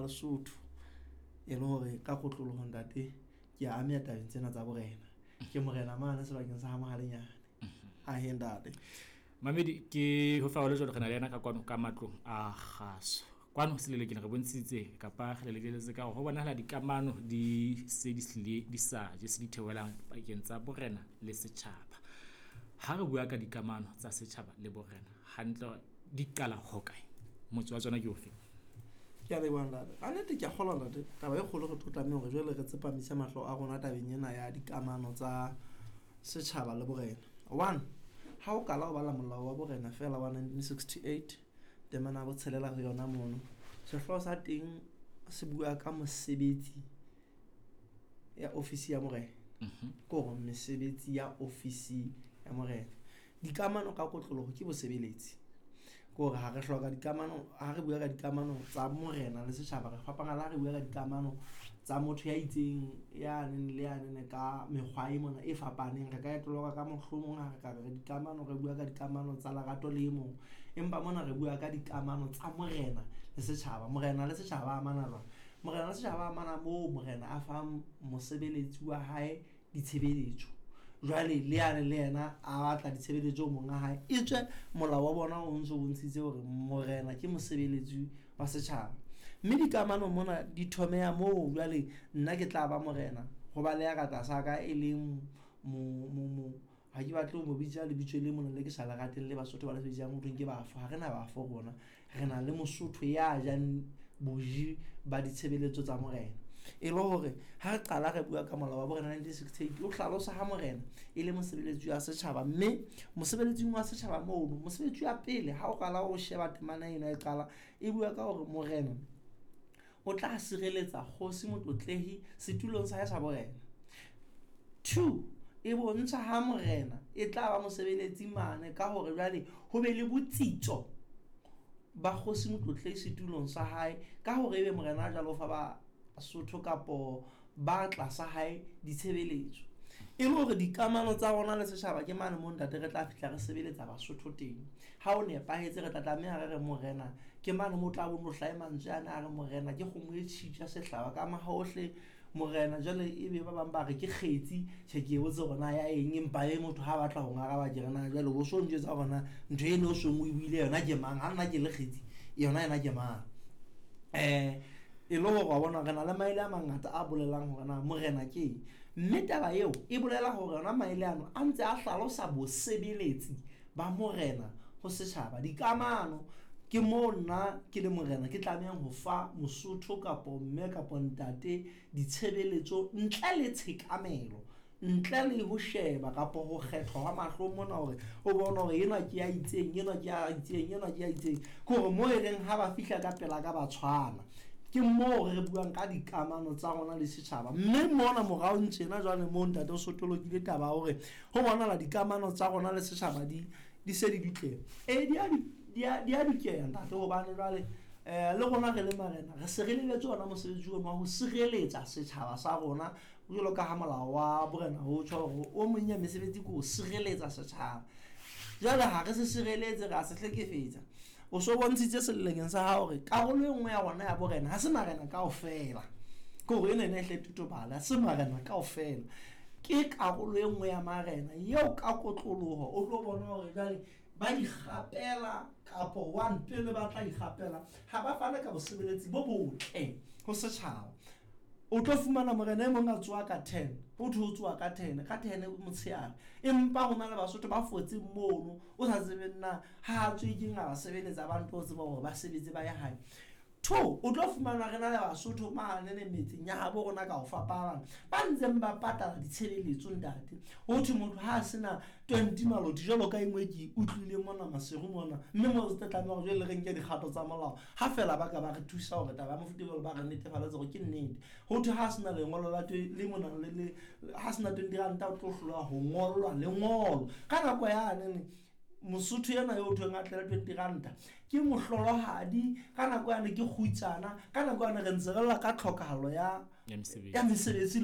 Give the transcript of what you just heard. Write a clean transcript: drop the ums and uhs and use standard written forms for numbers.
Lesotho. E le hore ka kotloloho ntate ke a ameha tabeng tsena tsa borena. Ke morena mane sebakeng sa ha Mohalenyane. Ahe ntate. Mamedi ke ho fa hole jwalo re na le yena ka kwano ka matlong a kgaso. Kwano selelekeng re bontshitse kapa re lekeletse ka hore ho bonahala dikamano di se di hlile di sa je se di theohelang pakeng tsa borena le setjhaba. Ha re bua ka dikamano tsa setjhaba le borena hantle di qala hokae? Motse wa tsona ke ofe? Ke a leboha ntate. Ka nnete ke a kgolwa ntate, taba e kgolo re tlo tlameha hore jwale re tsepamise mahlo a rona tabeng ena ya dikamano tsa setjhaba le borena. One, ha o kala ho bala molao wa borena feela wa 1968, temana ya botshelela ho yona mono, sehlooho sa teng se bua ka mosebetsi ya ofisi ya morena. Ke hore mesebetsi ya ofisi ya morena. Dikamano ka kotloloho ke bosebeletsi. Ke hore ha re hloka dikamano, ha re bua ka dikamano tsa morena le setjhaba, re fapana le ha re bua ka dikamano tsa motho ya itseng ya neng le ya nene ka mekgwa e mona e fapaneng. Re ka e toloka ka mohlomong ha re ka re dikamano, re bua ka dikamano tsa lerato le e mong. Empa mona re bua ka dikamano tsa morena le setjhaba. Morena le setjhaba ba amana jwang? Morena le setjhaba ba amana moo morena a fang mosebeletsi wa hae ditshebeletso. Jwale le yane le yena a batla ditshebeletso monga hae. E tswe molao wa bona o ntso bontshitse hore morena ke mosebeletsi wa setjhaba. Mme dikamano mona di thomeha moo jwale nna ke tla ba morena ho ba le ya ka tlasa ka e leng mo ha ke batle ho mo bitsa lebitso le mona le ke sa le rateng le Basotho ba le bitsang ho thweng ke bafo. Ha re na bafo rona, re na le Mosotho ya jang boji ba ditshebeletso tsa morena. E le hore ha re qala re bua ka molao wa borena 1968, o hlalosa ha morena e le mosebeletsi wa setjhaba, mme mosebeletsing wa setjhaba mono, mosebetsi wa pele ha o qala o sheba temana ena e qala e bua ka hore morena o tla sireletsa kgosi Motlotlehi setulong sa hae sa borena. Two, e bontsha ha morena e tla ba mosebeletsi mane ka hore jwale ho be le botsitso ba kgosi Motlotlehi setulong sa hae, ka hore ebe morena a jwalo fa ba Sotho kapo ba tlasa hae ditshebeletso. E le hore dikamano tsa rona le setjhaba ke mane moo ntate re tla fihla re sebeletsa Basotho teng. Ha o nepahetse re tla tlameha re re morena ke mane moo tla bo no hlahe mantswe ana a re morena ke kgomo e tjhitja sehlaba ka mahohle. Morena jwale ebe ba bang ba re ke kgetsi, tjhe ke botse hore na ya eng, empa e motho ha batla ho ngaraba ke re na jwale o so njwetsa hore na ntho eno o seng o e buile yona ke mang, ha nna ke le kgetsi yona yena ke mang. E le hore wa bona re na le maele a mangata a bolelang hore na morena ke eng, mme taba eo e bolela hore yona maele ano a ntse a hlalosa bosebeletsi ba morena ho setjhaba. Dikamano ke moo nna ke le morena ke tlamehang ho fa Mosotho kapo mme kapo ntate ditshebeletso ntle le tshekamelo, ntle le ho sheba kapo ho kgethwa hwa mahlong mona hore o bone hore enwa ke ya itseng, enwa ke ya itseng, enwa ke ya itseng. Ke hore moo e leng ha ba fihla ka pela ka ba tshwana. Ke moo re buang ka dikamano tsa rona le setjhaba. Mme mona morao tjena jwale moo ntate o sotolokile taba ya hore ho bonahala dikamano tsa rona le setjhaba di se di dutleha. Di a dukeha ntate, hobane jwale le rona re le marena re se re lebetse ona mosebetsi ono wa ho sireletsa setjhaba sa rona, jwalo ka ha molao wa borena ho tjho hore o mong ya mesebetsi ke ho sireletsa setjhaba. Jwale ha re se sireletse, re a se hlekefetsa. O so bontshitse selelekeng sa hao hore karolo e nngwe ya rona ya borena ha se marena kaofela. Ke hore ena ene e hle totobala, ha se marena kaofela. Ke karolo e nngwe ya marena eo ka kotloloho o tlo bona hore jwale ba ikgapela kapo one pele ba tla ikgapela ha ba fane ka bosebeletsi bo botle ho setjhaba. O tlo fumana morena e mong a tsoha ka 10, ho thwe o tsoha ka 10, ka 10 motshehare, empa ho na le Basotho ba fotseng mono o sa tsebeng na ha a tswe ke nga ba sebeletsa ba ntlo tseba hore ba sebetse ba ye hae. Two, o tlo fumana re na le Basotho mane le metseng ya habo rona ka ho fapana ba ntseng ba patala ditshebeletso ntate. Ho thwe motho ha a sena 20 maloti jwalo ka e nngwe ke utlwile mona Maseru mona, mme moo re tla tlameha hore jwale re nke dikgato tsa molao ha fela ba ka ba re thusa hore taba ya mofuta jwalo ba re netefaletse hore ke nnete. Ho thwe ha sena lengolo la le mona le le ha sena 20 ranta o tlo hlola ho ngollwa lengolo. Ka nako yane ne Mosotho ena eo thweng a tlele 20 ranta ke mohlolohadi, ka nako yane ke kgutsana, ka nako yane re ntse re lla ka tlhokahalo ya Ya mesebetsi. ya mesebetsi.